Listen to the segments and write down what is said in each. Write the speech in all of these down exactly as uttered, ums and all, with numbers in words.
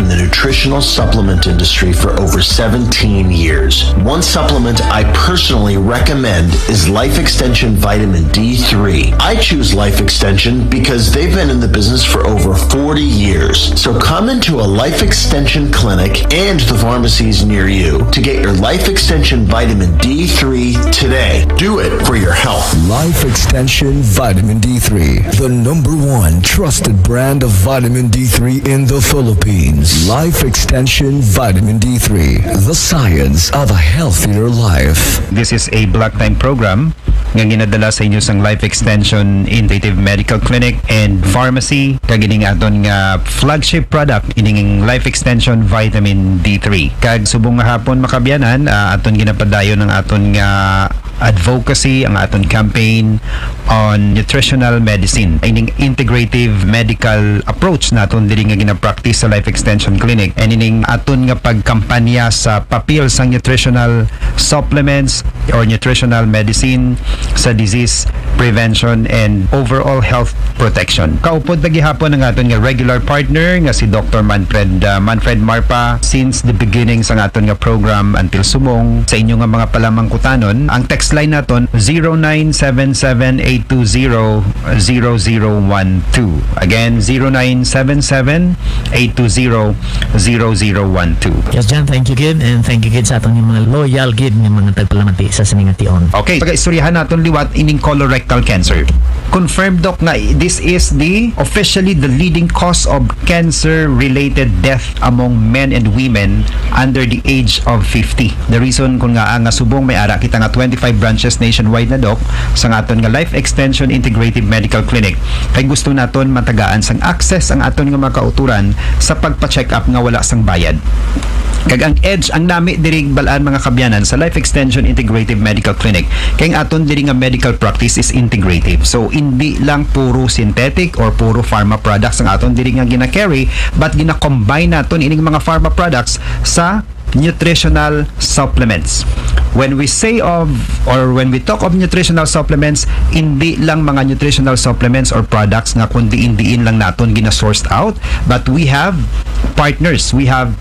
the nutritional supplement industry for over seventeen years. One supplement I personally recommend is Life Extension Vitamin D three. I choose Life Extension because they've been in the business for over forty years. So come into a Life Extension clinic and the pharmacies near you to get your Life Extension Vitamin D three today. Do it for your health. Life Extension Vitamin D three, the number one trusted brand of vitamin D three in the Philippines. Life Extension Vitamin D three, the science of a healthier life. This is a block time program nga ginadala sa inyo sang Life Extension Integrative Medical Clinic and Pharmacy, kag ining aton nga flagship product, ining Life Extension Vitamin D three. Kag subong nga hapon, makabyanan, ah, aton ginapadayon ang aton nga advocacy, ang aton campaign on nutritional medicine, ining integrative medical approach naton diri nga ginapractice sa Life Extension Clinic, and ining aton nga pagkampanya sa papel sang nutritional supplements or nutritional medicine sa disease prevention and overall health protection. Kaupod na gihapon ang aton nga regular partner nga si Doctor Manfred, ah, Manfred Marpa since the beginning sa aton nga program until subong. Sa inyo nga mga palamangkutanon, ang text line naton zero nine seven seven eight two zero zero zero one two. Again, zero nine seven seven eight two zero zero zero one two. Yes, John, thank you gid, and thank you gid sa aton mga loyal gid nga mga tagpalamati sa sining nga tion. Okay, pag-istoryahan naton liwat ining colorectal cancer. Confirmed, Doc, nga this is the officially the leading cause of cancer-related death among men and women under the age of fifty. The reason kun nga, ah, nga subong may ara kita nga twenty-five branches nationwide na, Doc, sa aton nga Life Extension Integrative Medical Clinic, kay gusto naton matagaan sang access ang aton nga mga kauturan sa pagpa-check up nga wala sang bayad. Kag ang edge, ang nami diri bal-an, mga kabyanan, sa Life Extension Integrative Medical Clinic, kay ang aton diri nga medical practice is integrative. So, hindi lang puro synthetic or puro pharma products ang aton diri nga gina-carry, but gina-combine naton ining mga pharma products sa nutritional supplements. When we say of, or when we talk of nutritional supplements, hindi lang mga nutritional supplements or products nga kun diin-diin lang naton gina-sourced out, but we have partners, we have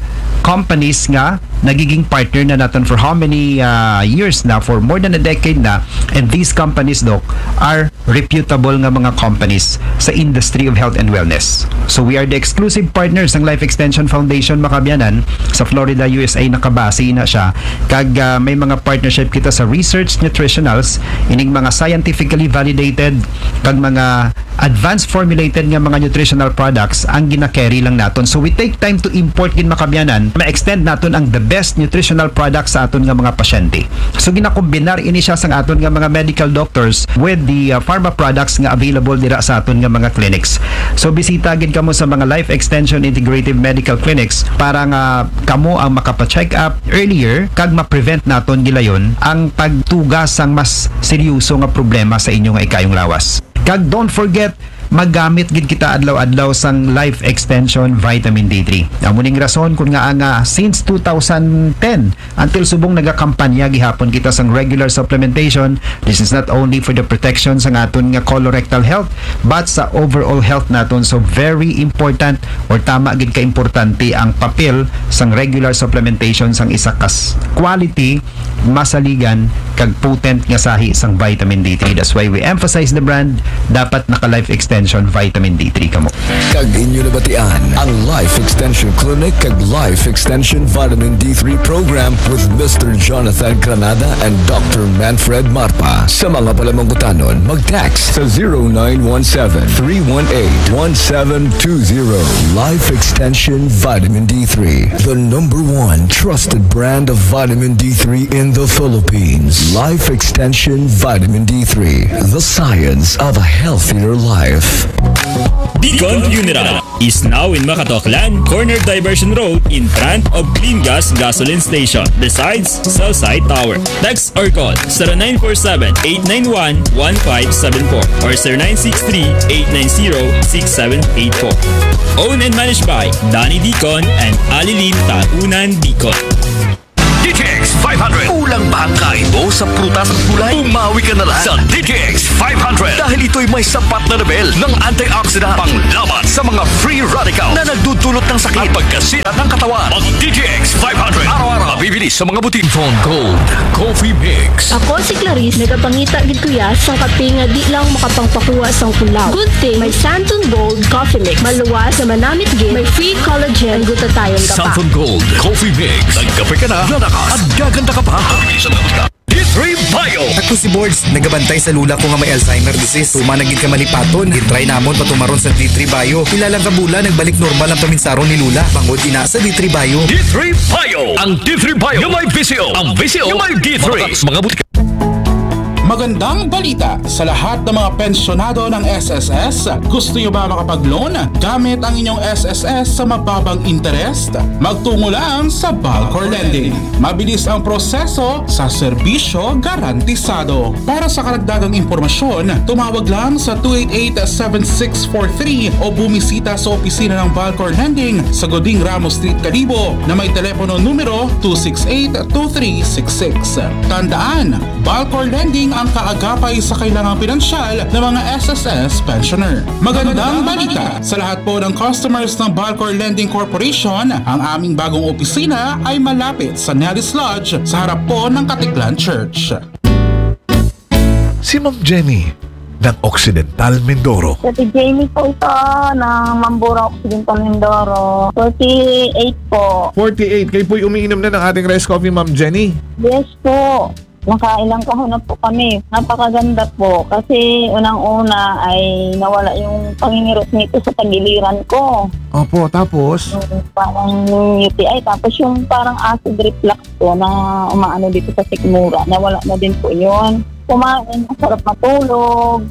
companies nga nagiging partner na naton for how many, ah, years na, for more than a decade na, and these companies, Doc, are reputable nga mga companies sa industry of health and wellness. So we are the exclusive partners ng Life Extension Foundation, makabyanan, sa Florida, U S A, nakabase na siya. Kag, ah, may mga partnership kita sa research nutritionals, ining mga scientifically validated kag mga advanced formulated nga mga nutritional products ang gina-carry lang naton. So we take time to import gid, makabyanan, ma-extend naton ang the best nutritional products sa aton nga mga pasyente. So ginakombinar ini siya sang aton nga mga medical doctors with the, uh, pharma products nga available dira sa aton nga mga clinics. So bisita gid kamo sa mga Life Extension Integrative Medical Clinics para nga kamo ang makapa-check up earlier kag ma-prevent naton gilayon ang pagtuga sang mas seryoso nga problema sa inyo nga ikayong lawas. Kag don't forget, magamit gid kita adlaw-adlaw sang Life Extension Vitamin D three. Amo ning rason kun nga, nga since two thousand ten until subong nagakampanya gihapon kita sang regular supplementation. This is not only for the protection sang aton nga colorectal health, but sa overall health naton. So very important, or tama gid ka importante, ang papel sang regular supplementation sang isa ka s-, quality, masaligan, kag potent nga sahi sang vitamin D three. That's why we emphasize the brand. Dapat naka Life Extension Vitamin D three kamo. Kag inyo nabatian ang Life Extension Clinic kag Life Extension Vitamin D three Program with Mister Jonathan Granada and Doctor Manfred Marpa. Sa mga palamangkutanon, mag-text sa zero nine one seven, three one eight, one seven two zero. Life Extension Vitamin D three, the number one trusted brand of vitamin D three in the Philippines. Life Extension Vitamin D three, the science of a healthier life. Deacon Funeral is now in Makato, Aklan, corner Diversion Road, in front of Clean Gas Gasoline Station, besides Cell Site Tower. Text or call zero nine four seven, eight nine one, one five seven four or zero nine six three, eight nine zero, six seven eight four. Owned and managed by Danny Deacon and Alilin Taunan Deacon. D T X five hundred. Kulang ba ang kain mo sa prutas at gulay? Umawi ka na lang sa D T X five hundred dahil ito'y may sapat na level ng antioxidant panglaban sa mga free radical na nagdudulot ng sakit at pagkasira ng katawan. Mag D T X five hundred araw-araw, mabibili sa mga butik. Phone Gold Coffee Mix. Ako si Clarice, nagapangita gid kuya sa kape nga di lang makapangpakuha sa kulaw. Good thing may Santon Gold Coffee Mix. Maluwas na manamit gid, may free collagen and glutathione ka pa. Santon Gold Coffee Mix. Nagkape ka na, lalakas at gaganda ka pa. Mabilis ang abot ka. D three Bio. Ako si Bords, nagabantay sa lula ko nga may Alzheimer disease. Human na gid ka malipaton. Gitry namon patumaron sa D three Bio. Pila lang ka bulan, nagbalik normal ang paminsaron ni lula. Bangod ina sa D three Bio. D three Bio. Ang D three Bio nga may V C O. Ang V C O nga may D three. Mga butika. Magandang balita sa lahat ng mga pensyonado ng S S S. Gusto nyo ba makapag-loan gamit ang inyong S S S sa mababang interest? Magtungo lang sa Balcor Lending. Mabilis ang proseso sa serbisyo garantisado. Para sa karagdagang impormasyon, tumawag lang sa two eight eight, seven six four three o bumisita sa opisina ng Balcor Lending sa Goding Ramos Street, Kalibo na may telepono numero two six eight, two three six six. Tandaan, Balcor Lending ang kaagapay sa kailangang pinansyal ng mga S S S pensioner. Magandang balita sa lahat po ng customers ng Balcor Lending Corporation, ang aming bagong opisina ay malapit sa Nellis Lodge sa harap po ng Katiklan Church. Si Ma'am Jenny ng Occidental Mindoro. Sa si Jamie po ito ng Mambura Occidental Mindoro. forty-eight po. forty-eight. Kayo po'y umiinom na ng ating rice coffee, Ma'am Jenny? Yes po. Nakailang kahon na po kami. Napakaganda po. Kasi unang-una ay nawala yung pangingirot nito sa tagiliran ko. Opo, tapos? Yung parang U T I. Tapos yung parang acid reflux ko na umaano dito sa sikmura. Nawala na din po yun. Kumain, masarap matulog.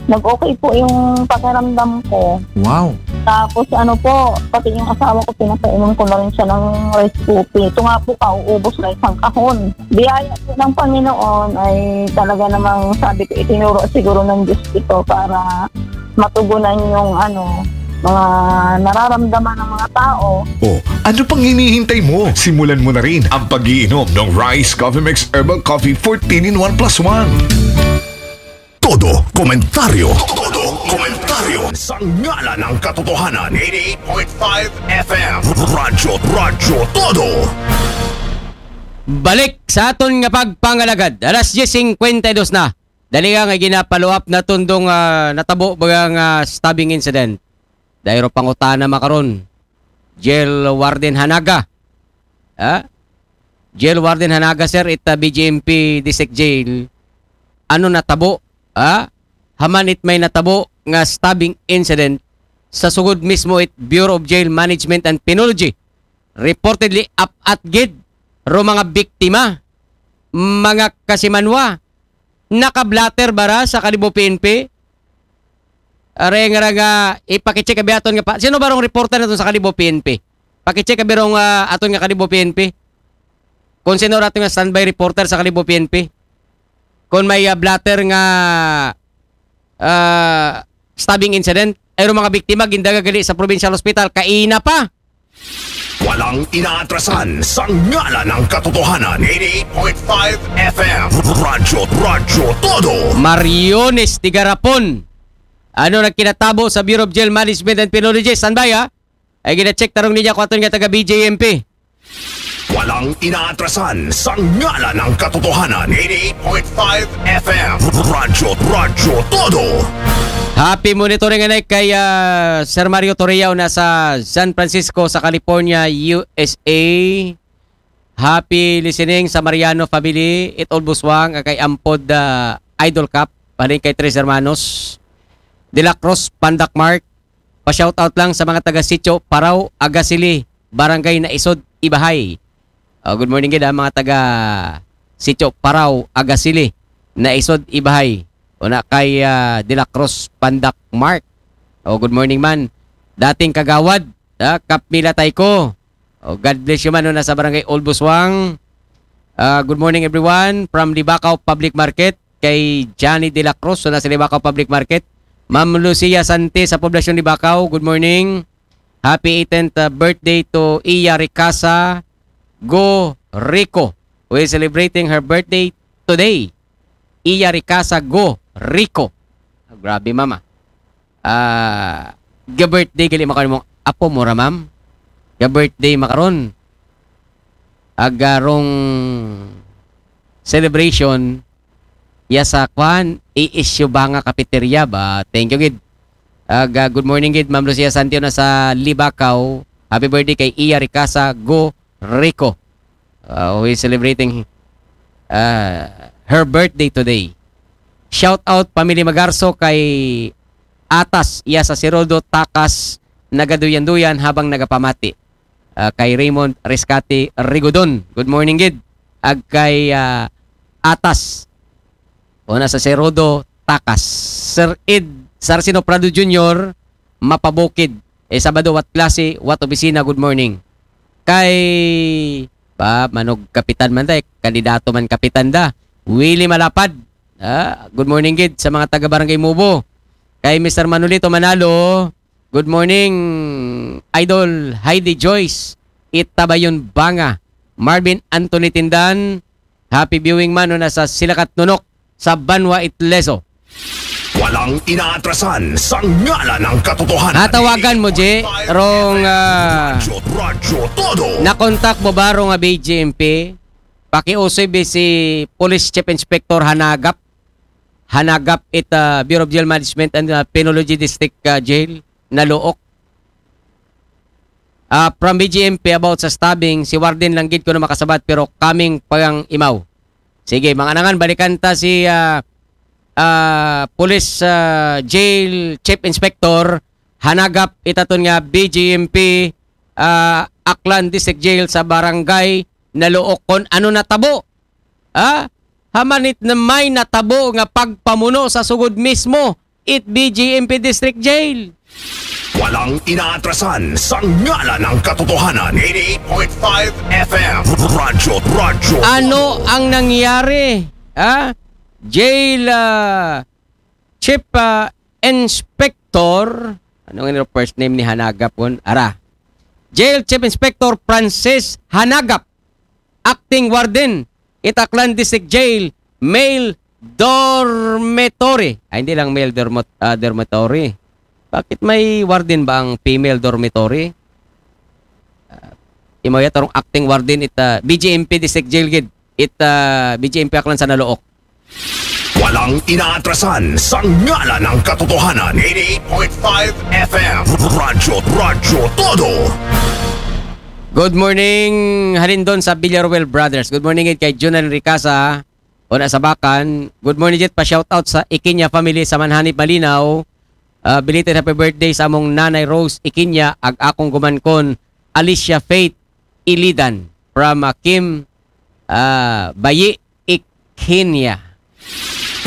Nag-okay po yung pakiramdam ko. Wow. Tapos ano po, pati yung asawa ko, pinapainom ko na rin siya ng rice coffee. Ito nga po, kauubos na isang kahon. Biyaya po ng Panginoon ay talaga namang sabi ko, itinuro siguro ng Diyos ito para matugunan yung ano, mga nararamdaman ng mga tao. O, ano pang hinihintay mo? Simulan mo na rin ang pag-iinom ng Rice Coffee Mix Herbal Coffee fourteen in one plus one. Todo komentaryo. Todo komentaryo. Sa ngalan ng katotohanan, eighty-eight point five F M. Radyo, Radyo Todo. Balik sa aton nga pagpangalagad. Alas diyes singkwenta y dos na. Dali nga nga gina-follow up na tundong ah, natabo baga nga stabbing incident. Dayro pangutana makaron. Jail Warden Hanaga. Ha? Jail Warden Hanaga, sir, it ah, B J M P District Jail. Ano natabo? Ha? Haman it may natabo nga stabbing incident sa sugod mismo it Bureau of Jail Management and Penology. Reportedly, apat gid ro mga biktima, mga kasimanwa, nakablatter bara sa Kalibo P N P? Are nga ra nga ipakicheck abi aton nga pa. Sino ba rong reporter naton sa Kalibo P N P? Pakicheck abi rong ah, aton nga Kalibo P N P. Kung sino ra aton nga standby reporter sa Kalibo P N P. Kung may ah, blatter nga ah, stabbing incident, ay mga biktima gindaga gali sa provincial hospital kaina pa. Walang inaatrasan sa ngalan ng katotohanan. Eighty-eight point five F M. Radyo, Radyo Todo. Mariones Tigarapon. Ano nagkinatabo sa Bureau of Jail Management and Penology? Standby ha. Ay gina-check tarong niya kung aton nga taga B J M P. Walang inaatrasan sa ngalan ng katotohanan. Eighty-eight point five F M. Radyo, Radyo Todo. Happy monitoring anay kay ah, Sir Mario Torreao na sa San Francisco sa California, U S A. Happy listening sa Mariano family, It All Buswang, kay Ampod ah, Idol Cup, paling kay Tres Hermanos, De La Cruz, Pandak Mark. Pa-shoutout lang sa mga taga Sitio Paraw, Agasili, Barangay Naisod, Ibahay. Oh, good morning gid ha, mga taga Sitio Paraw, Agasili, Naisod, Ibahay. Una kay ah, De La Cruz, Pandak Mark. Oh, good morning man. Dating kagawad, ah, Kap Mila Tayko. Oh, God bless you man, una sa Barangay Old Buswang. Ah, good morning everyone from Libacao Public Market kay Johnny De La Cruz, una sa Libacao Public Market. Ma'am Lucia Sante sa Poblacion Libacao, good morning. Happy eighteenth birthday to Iya Ricasa Go Rico. who is celebrating her birthday today. Iya Ricasa Go Rico. Ah, grabe, mama. Ah, ga-birthday gali makaron imong apo mo ra, ma'am. Ga-birthday makaron. Agarong celebration ya sa kwan, A S U Banga Cafeteria ba? Thank you, gid. Aga, good morning, gid. Ma'am Lucia Santio na sa Libacao. Happy birthday kay Iya Ricasa Go Rico. Uh, who is celebrating uh, her birthday today. Shout out, Pamilya Magarso, kay Atas, iya sa Sirodo, Takas, nagaduyan-duyan habang nagapamati. Uh, kay Raymond Rescate Rigodon. Good morning, gid. Ag kay uh, Atas. Una sa Sirodo, Takas. Sir Ed Sarcino Prado Junior, Mapabukid. Eh, Sabado, what klase, what opisina, good morning. Kay, ba, manog kapitan man da, eh, kandidato man kapitan da. Willie Malapad. Ah, good morning, gid, sa mga taga Barangay Mubo. Kay Mister Manolito Manalo, good morning, Idol Heidi Joyce, Itabayon Banga, Marvin Anthony Tindan, happy viewing man, no, na sa Silakat Nunok, sa Banwa Itleso. Walang inaatrasan sa ngalan ng katotohanan. Natawagan mo, J, rong, ah, Radyo, Radyo Todo. Nakontak mo ba rong, ah, B J M P? Pakiusoy bi si Police Chief Inspector Hanagap. Hanagap it, ah, Bureau of Jail Management and, ah, Penology District, ah, Jail, Nalook. Ah, from B J M P about sa stabbing, si Warden lang gid ko na makasabat pero kaming pangimaw. Sige, mga anangan, balikan ta si, ah, ah, Police, ah, Jail Chief Inspector Hanagap, itaton nga B J M P, ah, Aklan District Jail sa Barangay Nalook, kon ano natabo. Ha? Hamanit na may natabo nga pagpamuno sa sugod mismo it B J M P District Jail. Walang inaatrasan sa ngalan ng katotohanan. Eighty-eight point five F M. Radyo, Radyo. Ano ang nangyari? Ha? Jail, ah, Chief, ah, Inspector, ano nga nila first name ni Hanagap kon? Ara. Jail Chief Inspector Francis Hanagap, acting warden, Itaklan District Jail, male dormitory. Ay, hindi lang male dormo- ah, dormitory. Bakit may warden ba ang female dormitory? Ah, imo ya tarong acting warden it, ah, B J M P District Jail gid. It, ah, B J M P Aklan sa Nalook. Walang inaatrasan sa ngalan ng katotohanan. Eighty-eight point five F M. Radyo, Radyo Todo. Good morning, halin doon sa Villaruel Brothers. Good morning gid kay Junan Ricasa. Una sa Bakan. Good morning, Jet. Pa-shoutout sa Ikinya family sa Manhanip, Malinaw. Ah, belated happy birthday sa among Nanay Rose Ikinya, ag akong gumankon, Alicia Faith Ilidan. From, ah, Kim, ah, Bayi Ikinya.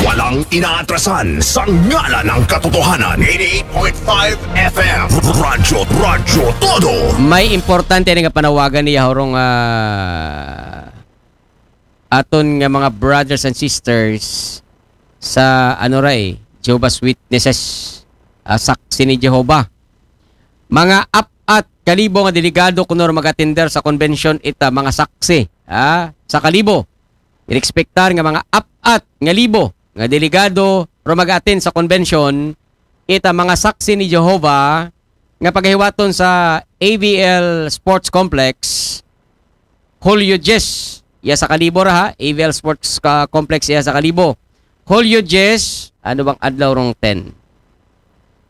Walang inaatrasan sa ngalan ng katotohanan. Eighty-eight point five F M. Radyo, Radyo Todo. May importante nga panawagan niya, horong, ah, aton nga mga brothers and sisters sa, ano ra, eh, Jehovah's Witnesses, ah, Saksi ni Jehovah. Mga apat ka libo nga delegado kuno ro mag-attender sa convention ita, mga saksi, ah, sa Kalibo. Inekspektar nga mga apat nga libo nga delegado ro mag-attend sa convention ita, mga Saksi ni Jehovah, nga pagahiwaton sa A V L Sports Complex, Hulyo diyes, iya sa Kalibo ra, ha? A V L Sports, ah, Complex, iya sa Kalibo. Hulyo diyes, ano bang adlaw rong ten?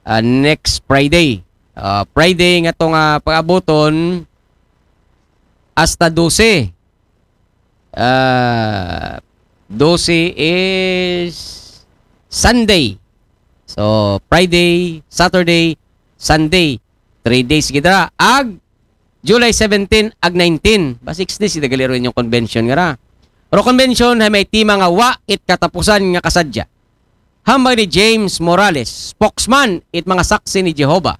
Ah, next Friday. Ah, Friday nga to nga pag-abuton hasta dose. Ah, dose is Sunday. So, Friday, Saturday, Sunday. Three days gid ra. Ag July seventeen ag nineteen. Ba, six days, ida gali ro inyong convention nga ra. Ro convention hay may tema nga Wa it Katapusan nga Kasadya. Hambal ni James Morales, spokesman it mga Saksi ni Jehovah,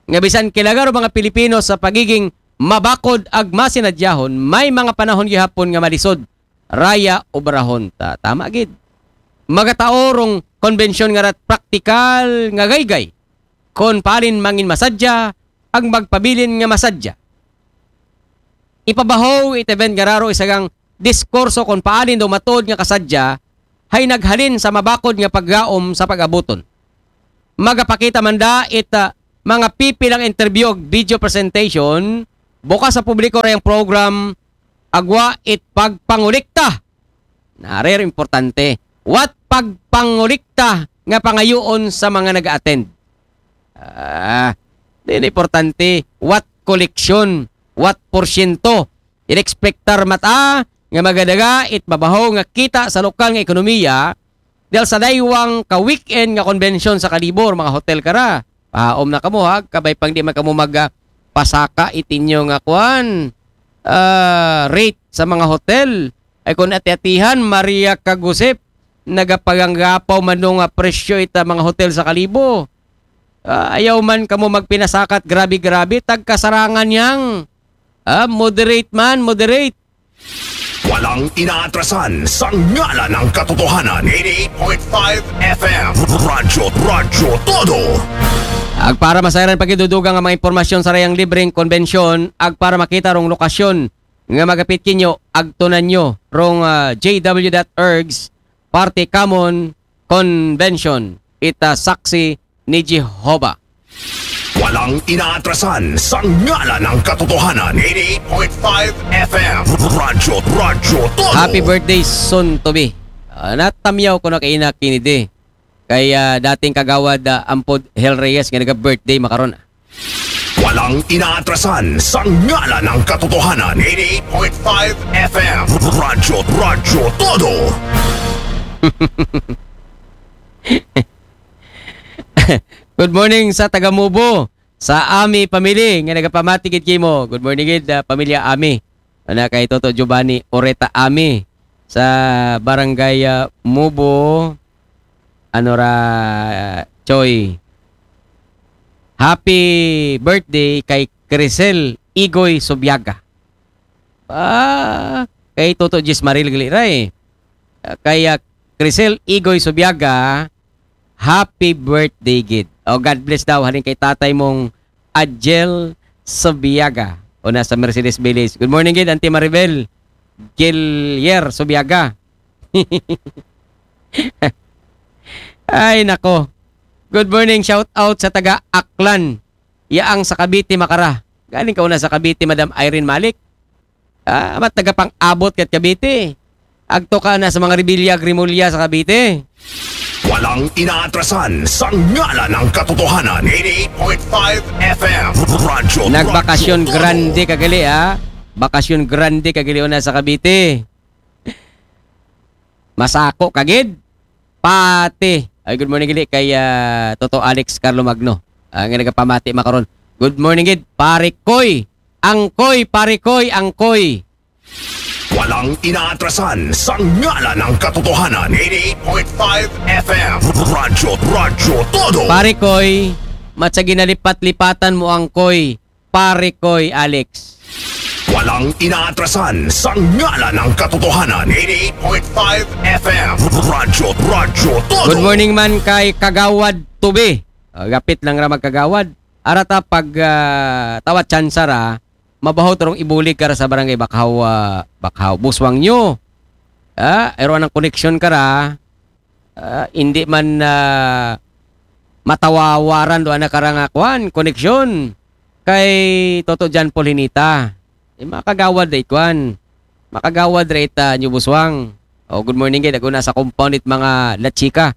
nga bisan kailaga ro mga Pilipino sa pagiging mabakod ag masinadyahon, may mga panahon gihapon nga malisod. Raya obrahon ta. Tama gid. Magatao rong convention nga rat praktikal nga gaygay. Kon palin mangin masadya, ang magpabilin nga masadya. Ipabaho it event nga ra ro isagang diskurso kon paalin daw matuod nga kasadya, hay naghalin sa mabakod nga paggaom sa pag-abuton. Magapakita man da it, ah, mga pipilang interview ug video presentation, bukas sa publiko ra ang program, agwa it pagpangulikta. Nari ra importante. What pagpangulikta nga pangayoon sa mga nag-attend? Ah, di na importante. What koleksyon? What porsyento? Inekspektar mata nga magadaga it mabaho nga kita sa lokal nga ekonomiya dahil sa daywang ka weekend nga konbensyon sa Kalibo, mga hotel kara. Pahaom na kamo ha, kabay pang di man kamo mag, ah, pasaka itinyo nga kuan, ah, rate sa mga hotel. Ay kung ati-atihan, Maria Kagusip, nagapaganggapaw man nga presyo ita mga hotel sa Kalibo. Ah, ayaw man kamo magpinasakat, grabe-grabe, tagkasarangan yang. Ah, moderate man, moderate. Walang inaatrasan sa ngalan ng katotohanan. Eighty-eight point five F M. Radyo, Radyo Todo. Ag para masayran pagidudugang ang mga impormasyon sa rayang libreng konbensyon, ag para makita rong lokasyon nga magapit kinyo, agtunan nyo rong, ah, J W dot org's Party Common Convention, ita saksi ni Jehovah. Walang inaatrasan sa ngalan ng katotohanan. Eighty-eight point five F M. Radyo, Radyo Todo. Happy birthday soon to be. Ah, natamyaw ko na kay Ina Kennedy. Kay, ah, dating kagawad, ah, Ampod Hel Reyes nga naga-birthday makaron. Walang inaatrasan sa ngalan ng katotohanan. Eighty-eight point five F M. Radyo, Radyo Todo. Good morning sa taga Mubo, sa Ami family nga nagapamati gid kimo. Good morning gid, ah, pamilya Ami. Ana kay Toto Giovanni Oreta Ami sa Barangay, ah, Mubo, ano ra, Choy. Happy birthday kay Crisel Igoy Subiaga. Ah, kay Toto Jis Maril gali ra eh. Ah, kay, ah, Crisel Igoy Subiaga, happy birthday gid. O, God bless daw halin kay tatay mong Adjel Subiaga. Una sa Mercedes Village. Good morning gid, Auntie Maribel Gillier Subiaga. Ay, nako. Good morning, shout out sa taga Aklan. Yaang sa Cavite, makara. Galing ka una sa Cavite, Madam Irene Malik. Ah, amat taga pang-abot kat Cavite. Agto ka na sa mga Revilla Grimulya sa Cavite. Walang inaatrasan sa ngalan ng katotohanan. Eighty-eight point five F M. Radyo, Nagbakasyon Radyo Todo. Grande kagali, ha? Bakasyon Grande kagali una sa Cavite. Masako kagid. Pati. Ay, good morning gid kay, ah, Toto Alex Carlo Magno. Ang nagapamati makaron. Good morning gid, Pare Koy. Angkoy, Pare Koy, Angkoy. Walang inaatrasan sa ngalan ng katotohanan. Eighty-eight point five F M. Radyo, Radyo Todo. Pare Koy, matsa ginalipat-lipatan mo, Angkoy. Pare Koy, Alex. Walang inaatrasan sa ngalan ng katotohanan. Eighty-eight point five F M. Radyo, Radyo Todo. Good morning man kay Kagawad Tubi. Ah, gapit lang ra magkagawad. Arata pag, ah, tawat tsansa ra, mabaho turong ibulig ka ra sa barangay Bakhaw, ah, Bakhaw. Buswang nyo. Ah, ero anang koneksyon ka ra. Ah, hindi man, ah, matawawaran do anak karang, ah, kwan, koneksyon. Kay Toto John Paul Hinita. Eh, makagawad ra ikwan. Makagawad ra ita New Buswang. Oh, good morning gid. Ako na sa compound it mga La Chica.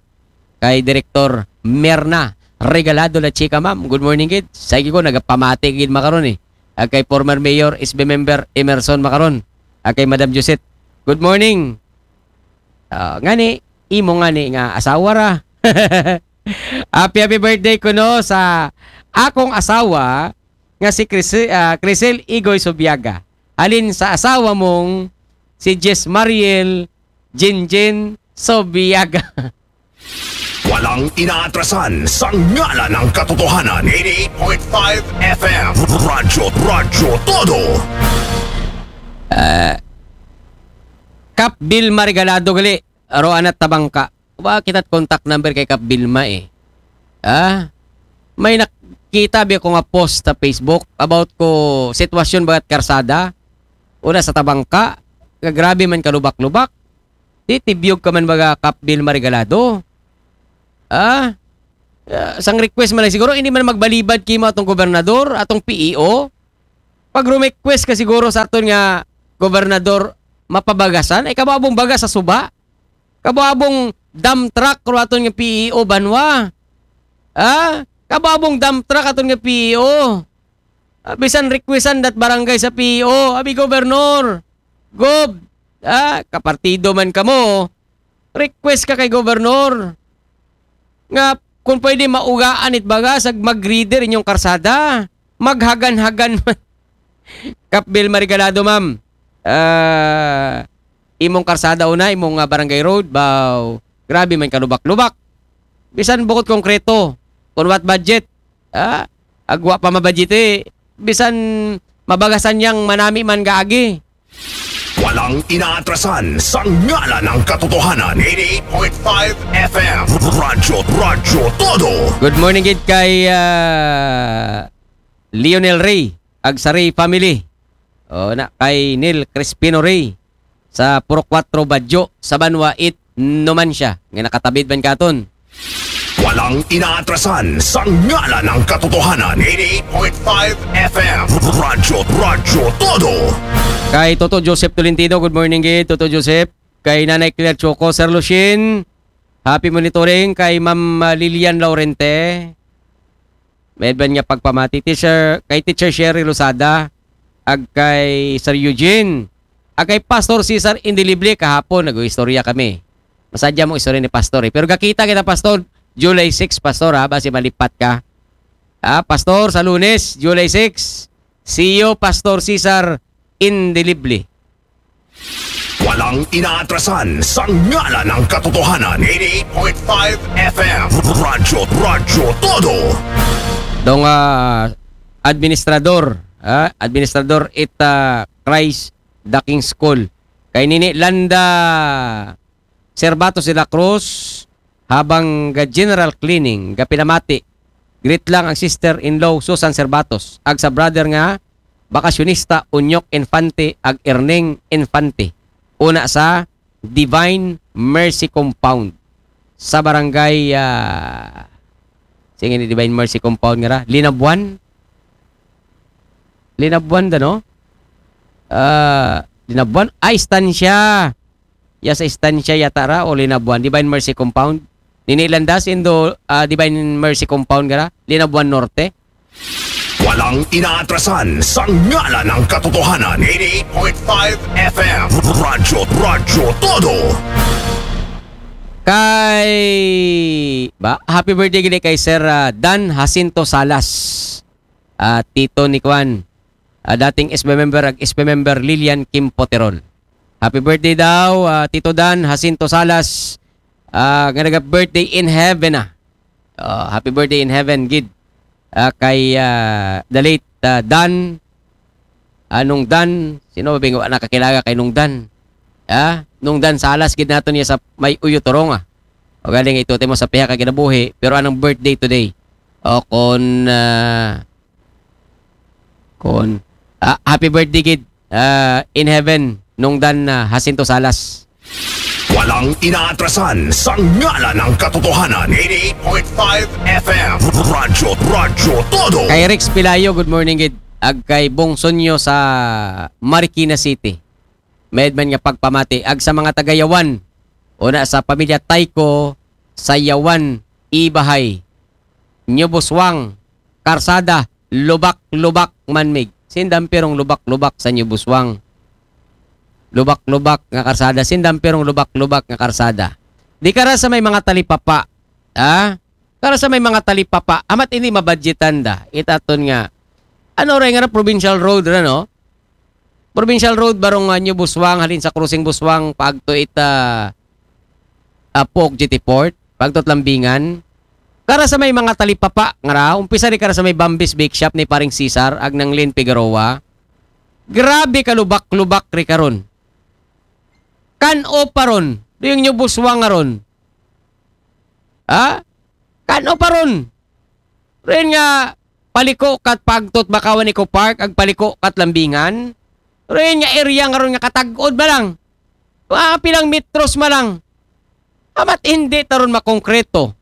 Kay Director Merna Regalado La Chica, ma'am. Good morning gid. Sige ko, nagapamati gid makaron eh. Ag kay former Mayor, S B member Emerson makaron. Ag kay Madam Josette. Good morning. Ah, ngani, imo ngani nga asawa ra. Happy, happy birthday kuno sa akong asawa nga si Cris-, ah, Crisel Igoy Subiaga. Halin sa asawa mong si Jess Mariel Jinjin Subiaga. Walang inaatrasan sa ngalan ng katotohanan. Eighty-eight point five F M. Radyo, Radyo Todo. Kap Vilma Regalado gali, aro anat Tabangka. Wa kita't contact number kay Kap Vilma eh. Ah? May nakita bi ko nga post sa Facebook about ko sitwasyon bagat karsada. Una sa Tabangka. nga grabe man kalubak-lubak. Di tibyog ka man baga Kap Vilma Regalado. Ah? Ah, sang request man lang siguro, hindi man magbalibad kimo atong gobernador, atong P E O. Pag request ka siguro sa aton nga gobernador mapabagasan, ay kababong bagas sa suba. Kababong dump truck ro aton nga P E O banwa. Ah? Kababong dump truck aton nga P E O. Ah, bisan requestan dat barangay sa P E O, abi gobernador. Gob, ah, kapartido man kamo. Request ka kay gobernador nga kung pwede maugaan it bagas ag mag-grader inyong karsada. Maghagan-hagan man. Kap Vilma Regalado, ma'am. Ah, imong karsada una, imong, ah, barangay road, baw, grabe man kalubak-lubak. Bisan bukod konkreto, kung what budget, ah, agwa pa mabudget eh, bisan mabagasan yang manami man gaagi. Walang inaatrasan sa ngalan ng katotohanan. Eighty-eight point five F M. Radyo, Radyo Todo. Good morning gid kay, ah, Lionel Ray ag sa Ray family. O na kay Neil Crispino Ray sa Purok Cuatro Badyo sa Banwa eight Numancia nga nakatabid man katon. Walang inaatrasan sa ngalan ng katotohanan. Eighty-eight point five F M. Radyo, Radyo Todo. Kay Toto Joseph Tolentino, good morning gid Toto Joseph. Kay Nanay Claire Choco, Sir Luchin, happy monitoring. Kay Ma'am, ah, Lilian Laurente, medban nga pagpamati. Teacher, kay Teacher Sherry Losada, ag kay Sir Eugene, ag kay Pastor Cesar Indelible. Kahapon nag-istorya kami. Masadya mo istorya ni Pastor eh. Pero gakita kita, Pastor, July six, Pastor, ha, basi malipat ka. Ah, Pastor, sa Lunes, July six. See you, Pastor Cesar Indelible. Walang inaatrasan sa ngalan ng katotohanan. Eighty-eight point five F M. Radyo, Radyo Todo. Dong, ah, administrador, ah, administrador it, ah, Christ the King School. Kay nini Landa Servatos de la Cruz, habang ga general cleaning, ga pinamati, greet lang ang sister-in-law Susan Servatos, ag sa brother nga bakasyonista Unyok Infante ag Erning Infante. Una sa Divine Mercy Compound sa barangay, ah, sige ni Divine Mercy Compound nga ra, Linabuan. Linabuan da, no? Ah, Linabuan. Ay, Estancia. Ya sa Estancia yata ra o Linabuan. Divine Mercy Compound. Nini Landas indo, ah, Divine Mercy Compound nga ra, Linabuan Norte. Walang inaatrasan sa ngalan ng katotohanan. Eighty-eight point five F M. Radyo, Radyo Todo. Kay, ba, happy birthday gid kay Sir, ah, Dan Jacinto Salas. Ah, tito ni Kwan. Ah, dating S B member ag S B member Lilian Kim Poterol. Happy birthday daw, ah, Tito Dan Jacinto Salas, ah, nga naga-birthday in heaven, ah. Ah, happy birthday in heaven gid. Ah, kay, ah, the late, ah, Dan, ah, Nung Dan, sino ba bing wa nakakilala kay Nung Dan? Ah, Nung Dan Salas gid nato niya sa may Uyo Torong, ah. O galing ito mo sa piha ka kinabuhi, pero anong birthday today? O kon, ah, kon, ah, happy birthday gid, ah, in heaven, Nung Dan, ah, Jacinto Salas. Walang inaatrasan sa ngalan ng katotohanan. Eighty-eight point five F M. Radyo, Radyo Todo. Kay Rex Pilayo, good morning gid. Ag kay Bong Sonyo sa Marikina City. Medman nga pagpamati. Ag sa mga taga Yawan, una sa pamilya Tayko sa Yawan, Ibahay, New Buswang, Karsada, lubak-lubak man mig. Sindam pirong lubak-lubak sa New Buswang. Lubak-lubak nga karsada. Sindam pirong lubak-lubak nga karsada. Di kara sa may mga talipapa. Ha? Kara sa may mga talipapa. Amat ini mabadgetan da. Itaton nga. Ano ra nga ra, provincial road ra, no? Provincial road barong, ah, New Buswang, halin sa Crossing Buswang, paagto ita, ah, Puok Jetty Port, paagto Lambingan. Kara sa may mga talipapa, nga ra, umpisa di kara sa may Bambis Bake Shop ni Paring Cesar, ag nang Lynn Figueroa. Grabe ka lubak-lubak ri karon. Kan-o pa ron, di yung New Buswang nga ron. Ha? Kan-o pa ron. Rin nga, paliko kat pagtot Bakawan Eco Park, ag paliko kat Lambingan. Pero yun nga area nga ron nga katagod ba lang? Mga pilang metros ma lang. Amat hindi taron makongkreto.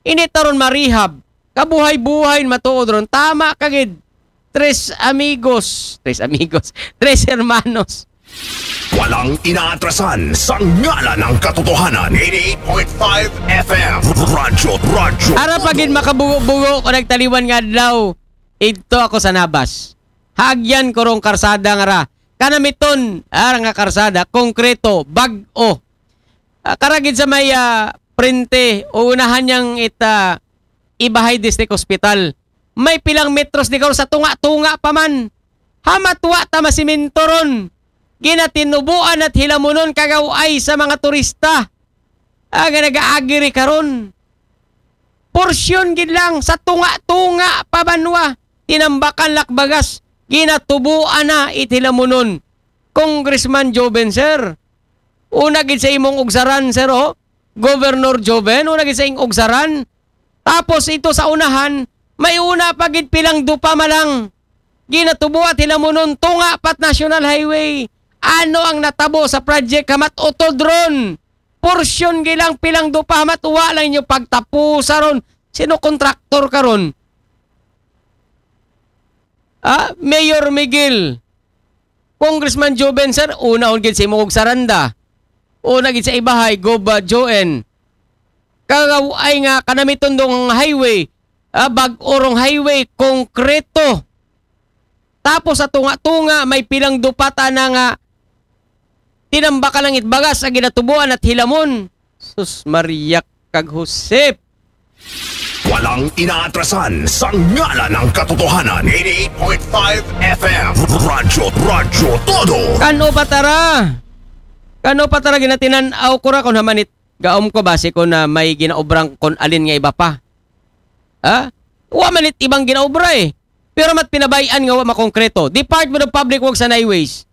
Hindi taron marehab. Kabuhay-buhay matuod ron. Tama kagid. Tres amigos. Tres amigos. Tres hermanos. Walang inaatrasan sa ngalan ng katotohanan. eighty-eight point five F M. Radyo, radyo. Ara pa gid makabugo-bugo ko nagtaliwan nga adlaw. Idto ako sa Nabas. Haagyan ko rong karsada nga ra. Kanamiton, ara nga karsada, konkreto, bag-o. Ah, karagid sa may ah, prente, o unahan niyang ita ibahay district hospital. May pilang metros di sa tunga-tunga pa man. Hamatwa ta masiminto ron. Ginatinubuan at hilamunon kagaway sa mga turista. Ah, nga nag-aagiri karon. Porsyon gid lang sa tunga-tunga pa banwa. Tinambakan lakbagas. Ginatubuan na itilamunon. Congressman Joven, sir. Una gid sa imong ugsaran, sir, oh. Governor Joven, una gid sa imong ugsaran. Tapos ito sa unahan, may una pa gid pilang dupa malang. Ginatubo at hilamunon tunga pat National Highway. Ano ang natabo sa project hamat utod ron? Porsyon gilang pilang dupa hamat wa lang inyo pagtapusa ron. Sino kontraktor karon? Ah, Mayor Miguel. Congressman Joven, sir, una gid sa imong saranda. Una gid sa ibahay, Gob uh, Joen. Kagaway nga kanamiton dong highway, ah, bag-o rong highway, konkreto. Tapos sa tunga-tunga, may pilang dupata na nga tinambakan ng itbagas ang ginatubuan at hilamon. Sus Maria kag Josep. Walang inaatrasan sa ngalan ng katotohanan. eighty-eight point five F M. Radyo, radyo, todo. Kano patara? Kano patara ginatinan-aw ko ra kung hamanit gaom ko base ko na may ginaobrang kon alin nga iba pa. Ha? Wa man it ibang ginaobra eh. Pero mat pinabayan nga wa makongkreto. Department of Public Works and Highways.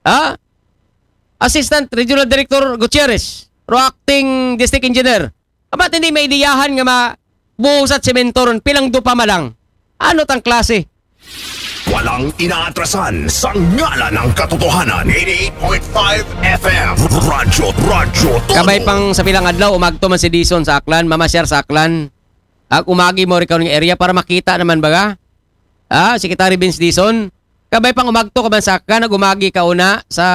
Ha? Assistant Regional Director Gutierrez, ro acting district engineer. Amat hindi maidiyahan nga mabuhos at semento ron, pilang dupa malang. Ano tang klase? Walang inaatrasan sa ngalan ng katotohanan. eighty-eight point five F M. Radyo, radyo, todo. Kabay pang sa pilang adlaw, umagto man si Dison sa Aklan, mamasyar sa Aklan. Ag umagi mo rin ng area para makita naman baga. Ah, Secretary Vince Dison, kabay pang umagto ka man sa Aklan, ag umagi ka una sa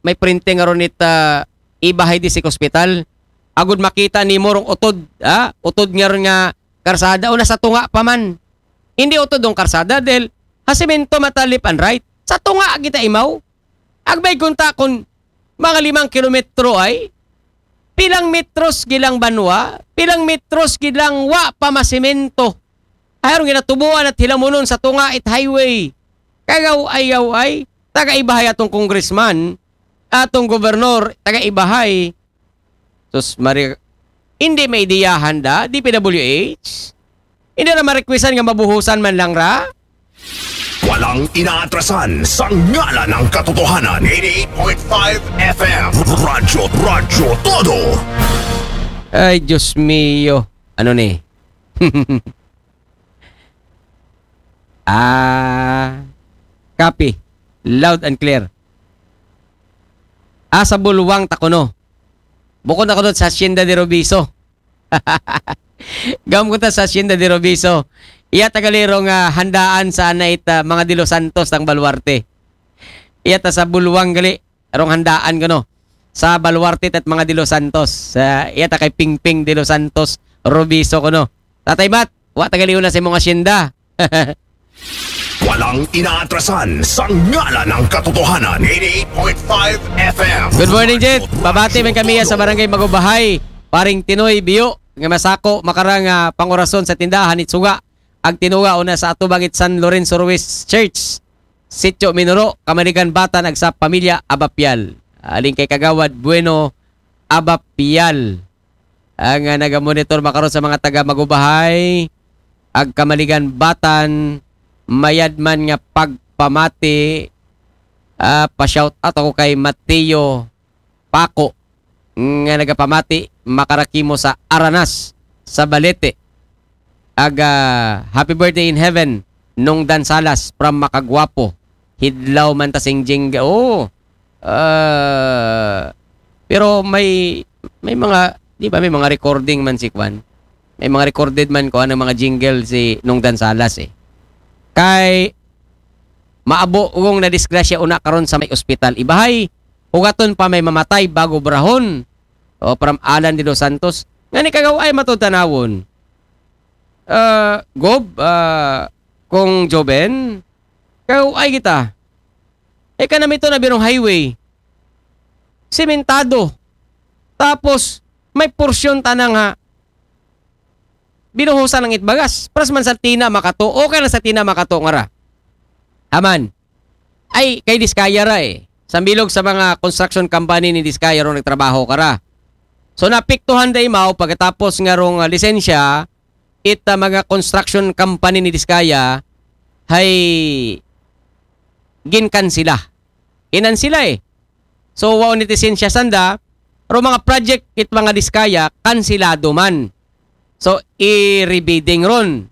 may printing nga ron it ah, ibahay di sa hospital. Agud makita ni mo rong utod, ha? Utod nga ron nga karsada, o nasa tunga pa man. Hindi utod ng karsada, dahil hasimento matalip and right. Sa tunga kita imaw. Agbay kunta kung mga limang kilometro ay, pilang metros gilang banwa, pilang metros gilang wa pa masimento. Ay, arong ginatubuan at hilamunon sa tunga it highway. Kagaw ayaw ay, taga ibahay atong congressman, atong gobernador, taga ibahay. Sus, Maria, hindi may idiyahan da, D P W H? Hindi na ma-requestan nga mabuhusan man lang ra? Walang inaatrasan sa ngalan ng katotohanan. eighty-eight point five F M. Radyo, radyo, todo. Ay, Diyos mio. Ano ni? Ah, copy. Loud and clear. Ah, sa Bulwang ta kuno. Bukod ako doon sa Hacienda de Robiso. Gam ko ta sa Hacienda de Robiso. Iya tagaliro nga handaan sa anait ah, mga De Los Santos ng Baluarte. Iya ta sa Bulwang gali. Arong handaan ko no. Sa Baluarte at mga De Los Santos. Sa iya ta kay Pingping De Los Santos Robiso ko no. Tatay Mat, wa tagaliw na sa imong asyenda. Walang inaatrasan sa ngalan ng katotohanan. eighty-eight point five F M. Good morning, Jet. Babati man kami sa Barangay Magubahay. Paring Tinoy Biyo, nga masako makarang ah, pangurason sa tindahan it suga. Ag tinuga una sa atubang it San Lorenzo Ruiz Church. Sitio Minuro, Kamaligan Batan, ag sa pamilya Abapial. Aling kay Kagawad Bueno Abapial. Ang ah, nagamonitor makaron sa mga taga Magubahay, ag Kamaligan Batan, mayad man nga pagpamati, ah, pa-shout out ako kay Mateo Paco, nga nagapamati, makarakimo sa Aranas, sa Balete. Ag ah, happy birthday in heaven, Nung Dan Salas from Makagwapo. Hidlaw man ta sing jingle. Oo. Ah, pero may, may mga, di ba, may mga recording man si Kwan. May mga recorded man ko anong mga jingle si Nungdan Salas eh. Kay maabo gong na disgrasya una karon sa may ospital. Ibahay, hugaton pa may mamatay bago brahon. O, from Alan de los Santos. Nga ni kagaw ay matod tanawon. Ah, Gob, ah, kung Joven, kagaw ay kita. E ka namito na birong highway. Simentado. Tapos, may porsyon tanang ha. Binuhusan ng itbagas. Pras man sa Tina Makato. Okay lang sa Tina Makato nga ra. Aman. Ay, kay Diskaya ra eh. Sambilog sa mga construction company ni Diskaya ron nagtrabaho ka ra. So, napiktuhan da imaw pagkatapos nga rong ah, lisensya, it ah, mga construction company ni Diskaya, hay ginkansila. Kinansila eh. So, wow ni lisensya sanda, pero mga project it mga Diskaya, kansilado man. So, i-rebidding ron.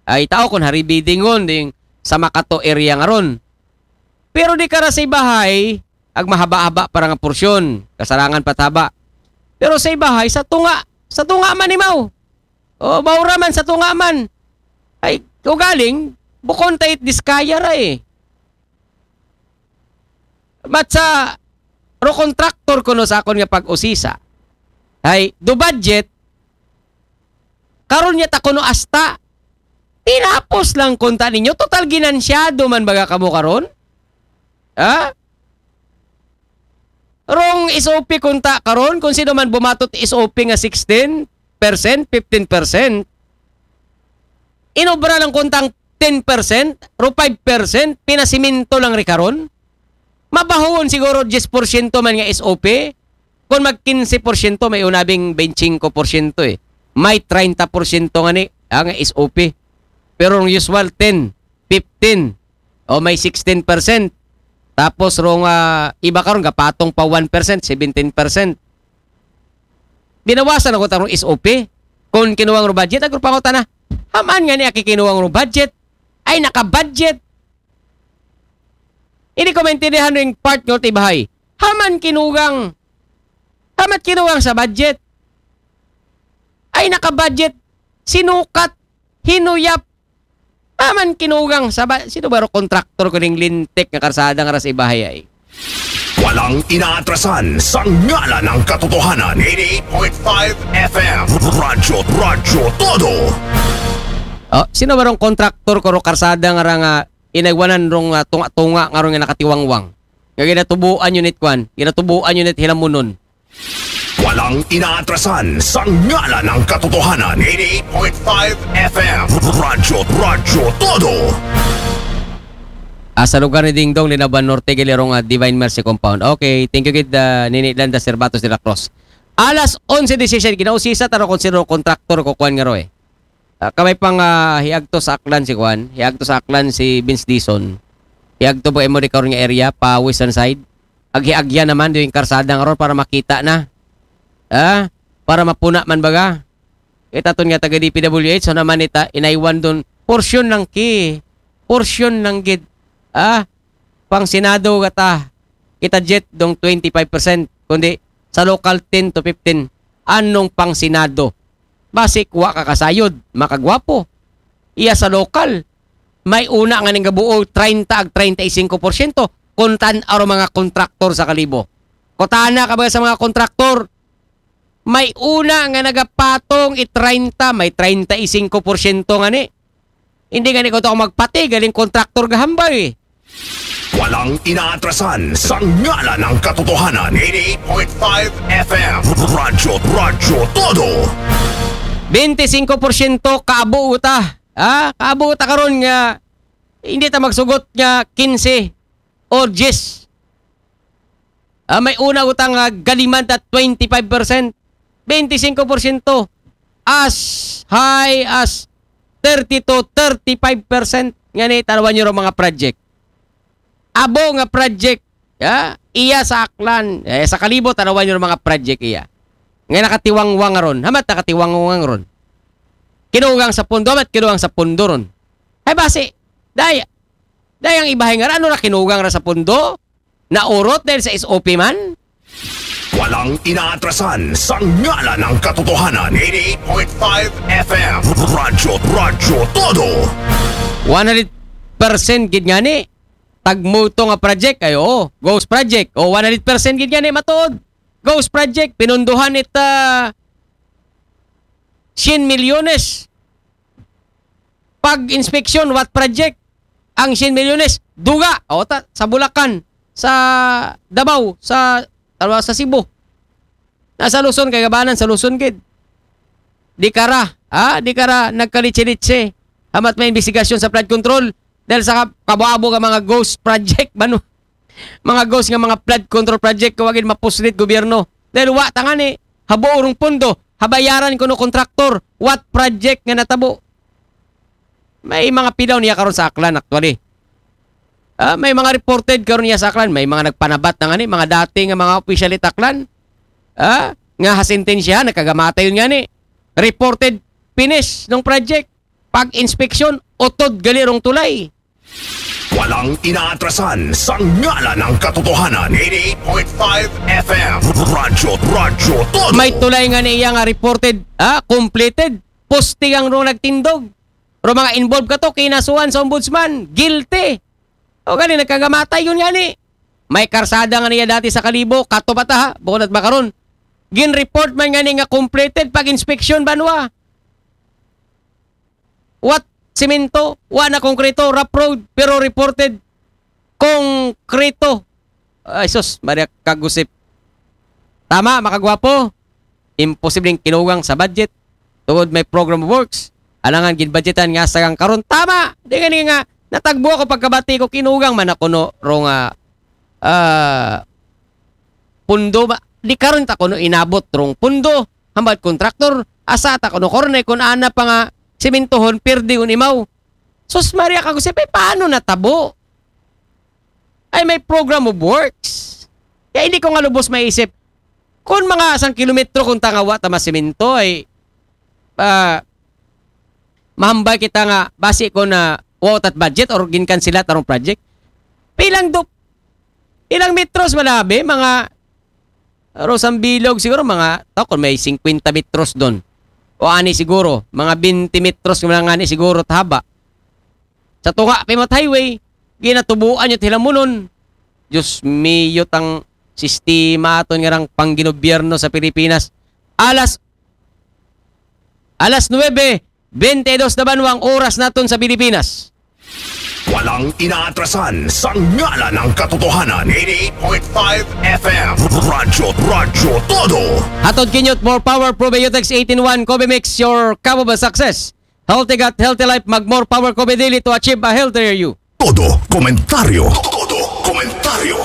Ay, tao kung ha-rebidding ron, ding sa Makato area nga ron. Pero di ka ra sa ibahay, ag mahaba-haba para nga porsyon, kasarangan pataba. Pero sa ibahay, sa tunga, sa tunga man imaw. O, maura man sa tunga man. Ay, ugaling, bukon ta it Diskaya ra eh. Mat sa ro contractor kuno sa akon nga pag-usisa. Ay, do budget, karon niya ta kuno asta. Tinapos lang kunta ninyo. Total ginansyado man baga kamo karon? Ha? Rong S O P kunta karon, kung sino man bumatot S O P nga sixteen percent, fifteen percent, inobra lang kuntang ten percent, ro five percent, pinasiminto lang ri karon. Mabahuon siguro diyes porsyento man nga S O P. Kung mag kinse porsyento, may unabing bentsinko porsyento eh. May treinta porsyento nga ni, ah, nga S O P. Pero ang usual, ten, fifteen, o may sixteen percent. Tapos rong ah, iba karon gapatong pa one percent, seventeen percent. Binawasan ako tarong S O P. Kung kinuwang ro budget, agro pangutana. Haman nga ni aki kinuwang ro budget. Ay, naka-budget. Hindi ko maintindihan yung part nyo, tibahay. Haman kinugang. Hamat kinugang sa budget. Ay, naka-budget. Sinukat. Hinuyap. Haman kinugang sa ba... Sino ba ro kontraktor ko ning lintik nga karsada nga ras ibahay ay? Walang inaatrasan sa ngalan ng katotohanan. Eighty-eight point five F M. Radyo, Radyo Todo. Oh, sino ba rong kontraktor ko ro karsada nga ra nga inagwanan rong ah, tunga-tunga nga rong nga nakatiwangwang? Nga ginatubuan yun it kwan, ginatubuan yun it hilamunon. Walang inaatrasan sa ngalan ng katotohanan. Eighty-eight point five F M. Radyo, Radyo Todo. Ah, sa lugar ni Dingdong, Linaban Norte, Gilirong ah, Divine Mercy Compound. Okay, thank you gid ah, Nini Landa Cervatos de la Cruz. Alas onse disisyen, kinausisa taro kung sino kontraktor ko kwan nga ro eh. Ah, kamay pang ah, hiagto sa Aklan si kwan, hiagto sa Aklan si Vince Dizon. Hiagto ba imo di karon nga area pa western side? Aghiagya naman do yung karsada nga ron para makita na. Ah, para mapuna man baga. Itaton nga taga D P W H, so naman ita, inaiwan dun, porsyon lang ki, porsyon lang gid. Ah, pang Senado gata, kita jet dong twenty-five percent, kundi sa local ten to fifteen, anong pang Senado? Basi kuha ka kasayod, makagwapo. Iya sa local, may una nga ning gabuo, treinta ag treinta y cinco porsyento, kung tan-aw mga kontraktor sa Kalibo. Kutana ka ba sa mga kontraktor, may una nga nagapatong i treinta, may treinta y cinco porsyento nga ni. Hindi nga ni ko to magpati, galing kontraktor gahambay eh. Walang inaatrasan sa ngalan ng katotohanan. Eighty-eight point five F M. Radyo, Radyo Todo. Twenty-five porsyento kaabo uta. Ha? Kaabo uta karon nga hindi ta magsugot nga quince or diyes. Ah, may una utang nga galiman ta twenty-five percent. Twenty-five percent. As high as thirty to thirty-five percent. Nga ni, tanawan nyo ro mga project. Abo nga project. Ya, iya sa Aklan. Eh, sa Kalibo, tanawan nyo ro mga project iya. Nga nakatiwangwang ron. Hamat nakatiwangwang ron. Kinugang sa pundo. Hamat kinugang sa pundo ron. Ay, basi. Day, Dahil ang ibahay nga ra, ano ra kinugang ra sa pundo? Naurot dahil sa S O P man? Walang inaatrasan sa ngalan ng katotohanan. eighty-eight point five F M. Radyo, Radyo Todo. One hundred percent gid nga ni. Tagmuto nga project, ay oo. Ghost project. O, one hundred percent gid nga ni, matuod. Ghost project. Pinunduhan it ah, siyam milyones. Pag-inspeksyon, what project? Ang siyam milyones, duga. O, ta, sa Bulacan, sa Davao, sa, tawag sa Cebu. Nasa Luzon, kay gabanan sa Luzon, gid. Di ka ra, ha? Di ka ra nagkalitse-litse. Hamat may investigasyon sa flood control. Dahil sa kab- kabo-abo nga mga ghost project, bano? Mga ghost nga mga flood control project, kawagin mapuslit gobyerno. Dahil wa tanga ni, habo urong pundo, habayaran kuno kontraktor, what project nga natabo? May mga pidaw niya karon sa Aklan actually. Ah, may mga reported karon niya sa Aklan, may mga nagpanabat na nga ni, mga dating nga mga opisyal it Aklan. Ah, nga hasintensya, nagkagamatay yun nga ni. Reported finish ng project. Pag-inspeksyon, utod gali rong tulay. Walang inaatrasan sa ngalan ng katotohanan. eighty-eight point five F M. Radyo, Radyo Todo. May tulay nga niya nga reported, ah, completed. Posting ang rong nagtindog. Pero mga involved ka to, kinasuhan sa ombudsman. Guilty. O gani, nagkagamatay yun nga ni. May karsada nga niya dati sa Kalibo, kato pa ta ha, bukod at makaron. Gin-report man nga ni nga completed pag-inspeksyon banwa. What? Simento, wa na konkreto, rough road, pero reported konkreto. Ay sus, Maria Kagusip. Tama, makagwapo. Imposibleng kinugang sa budget. Tungod may program of works. Alangan ginbudgetan nga sagang karon. Tama! Di nga ni nga, natagbo ako pagkabati ko, kinugang man ako no, rong ah, ah, pundo ba? Di karon ta kuno inabot rong pundo. Hambal kontraktor, asa ta kuno korne kun ana pa nga simintohon, pirdi un imaw. Sus Maria Kagusip, paano natabo? Ay may program of works. Kaya hindi ko nga lubos maisip. Kung mga isang kilometro kung tangawa ta masimento ay ah, mahambal kita nga basi ko na wa tat budget or ginkansela tarong project. Pilang do, ilang metros malabi, mga Rosang Bilog siguro, mga tao kung may fifty metros doon. O ani siguro, mga twenty metros nga lang ani siguro tahaba. Sa tunga pa highway, ginatubuan yung hilamunon. Diyos mio, tang sistema aton nga rang pangginobyerno sa Pilipinas. Alas alas nuebe, bente dos na banwa ang oras naton sa Pilipinas. Walang inaatrasan sa ngalan ng katotohanan. eighty-eight point five F M. Radyo, Radyo Todo. Hatod kinyot more power probiotics eighteen one Kobe Mix, your cup of success. Healthy gut, healthy life, mag more power Kobe daily to achieve a healthier you. Todo komentaryo. Todo komentaryo.